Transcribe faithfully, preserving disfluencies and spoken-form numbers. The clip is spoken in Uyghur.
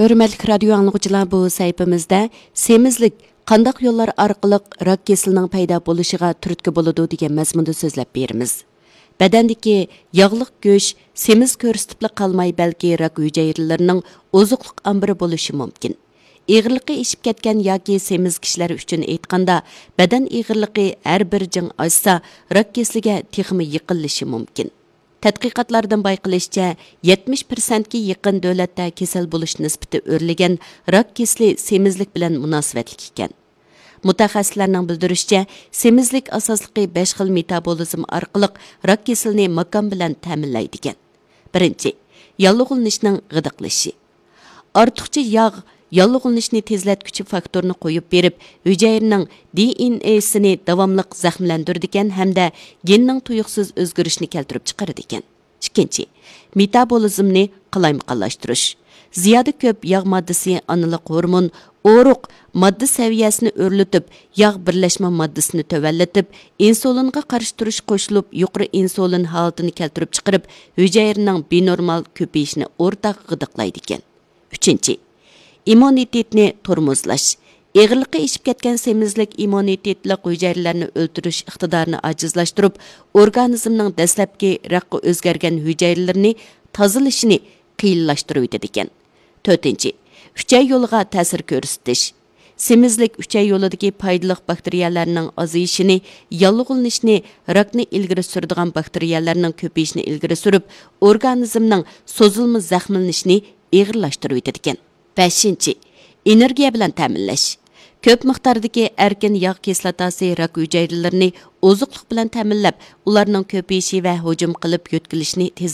ھۆرمەتلىك رادىيو ئاڭلىغۇچىلار، بۇ سەھىپىمىزدە سېمىزلىك قانداق يوللار ئارقىلىق راك كېسىلىنىڭ پەيدا بولۇشىغا تۈرتكە بولىدۇ دېگەن مەزمۇندا سۆزلەپ بېرىمىز. بەدەندىكى ياغلىق گۆش سېمىز كۆرسىتىپلا قالماي، بەلكى راك ھۈجەيرىلىرىنىڭ ئوزۇقلۇق ئامبىرى بولۇشى مۇمكىن. ئېغىرلىقى ئېشىپ كەتكەن ياكى سېمىز كىشىلەر ئۈچۈن ئېيتقاندا، بەدەن ئېغىرلىقى ھەر بىر جىڭ ئاشسا، راك كېسىلىگە تېخىمۇ يېقىنلىشى مۇمكىن. تەتقىقاتلاردىن بايقىلىشىچە، يەتمىش پىرسەنتكە يېقىن دۆلەتتە كېسەل بولۇش نىسبىتى ئۆرلىگەن راك كېسىلى سېمىزلىك بىلەن مۇناسىۋەتلىك ئىكەن. مۇتەخەسسىسلەرنىڭ بىلدۈرۈشىچە، سېمىزلىك ئاساسلىقى بەش خىل مېتابولىزم ئارقىلىق راك كېسىلىنى ماكان بىلەن تەمىنلەيدىكەن. بىرىنچى، ياللۇغلىنىشنىڭ غىدىقلىشى. ئارتۇقچە ياغ ياللۇغلىنىشنى تېزلەتكۈچى فاكتورنى قويۇپ بېرىپ، ھۈجەيرىنىڭ دې ئېن ئېسىنى داۋاملىق زەخىملەندۈرىدىكەن ھەمدە گېننىڭ تۇيۇقسىز ئۆزگىرىشىنى كەلتۈرۈپ چىقىرىدىكەن. ئىككىنچى، مېتابولىزمنى قالايمىقانلاشتۇرۇش. زىيادە كۆپ ياغ ماددىسى ئانىلىق ھورمون، ئورۇق، ماددا سەۋىيەسىنى ئۆرلىتىپ، ياغ بىرلەشمە ماددىسىنى تۆۋەنلىتىپ، ئىنسۇلىنغا قارشى تۇرۇش قوشۇلۇپ، يۇقىرى ئىنسۇلىن ھالىتىنى كەلتۈرۈپ چىقىرىپ، ھۈجەيرىنىڭ بىنورمال كۆپىيىشىنى ئورتاق غىدىقلايدىكەن. ئۈچىنچى، ئىممۇنىتېتنى تورمۇزلاش. ئېغىرلىقى ئېشىپ كەتكەن سېمىزلىك ئىممۇنىتېتلىق ھۈجەيرىلەرنى ئۆلتۈرۈش ئىقتىدارىنى ئاجىزلاشتۇرۇپ، ئورگانىزمنىڭ دەسلەپكى راكقا ئۆزگەرگەن ھۈجەيرىلىرىنى تازىلىشىنى قىيىنلاشتۇرۇۋېتىدىكەن. تۆتىنچى، ئۈچەي يولىغا تەسىر كۆرسىتىش. سېمىزلىك ئۈچەي يولىدىكى پايدىلىق باكتېرىيەلەرنىڭ ئازىيىشىنى، ياللۇغلىنىشنى، راكنى ئىلگىرى سۈرىدىغان باكتېرىيەلەرنىڭ كۆپىيىشىنى ئىلگىرى سۈرۈپ، ئورگانىزمنىڭ سوزۇلما زەخىملىنىشىنى ئېغىرلاشتۇرۇۋېتىدىكەن. بەشىنچى، ئېنېرگىيە بىلەن تەمىنلەش. كۆپ مىقداردىكى ئەركىن ياغ كىسلاتاسى راك ھۈجەيرىلىرىنى ئوزۇقلۇق بىلەن تەمىنلەپ، ئۇلارنىڭ كۆپىيىشى ۋە ھۇجۇم قىلىپ يۆتكىلىشىنى تېز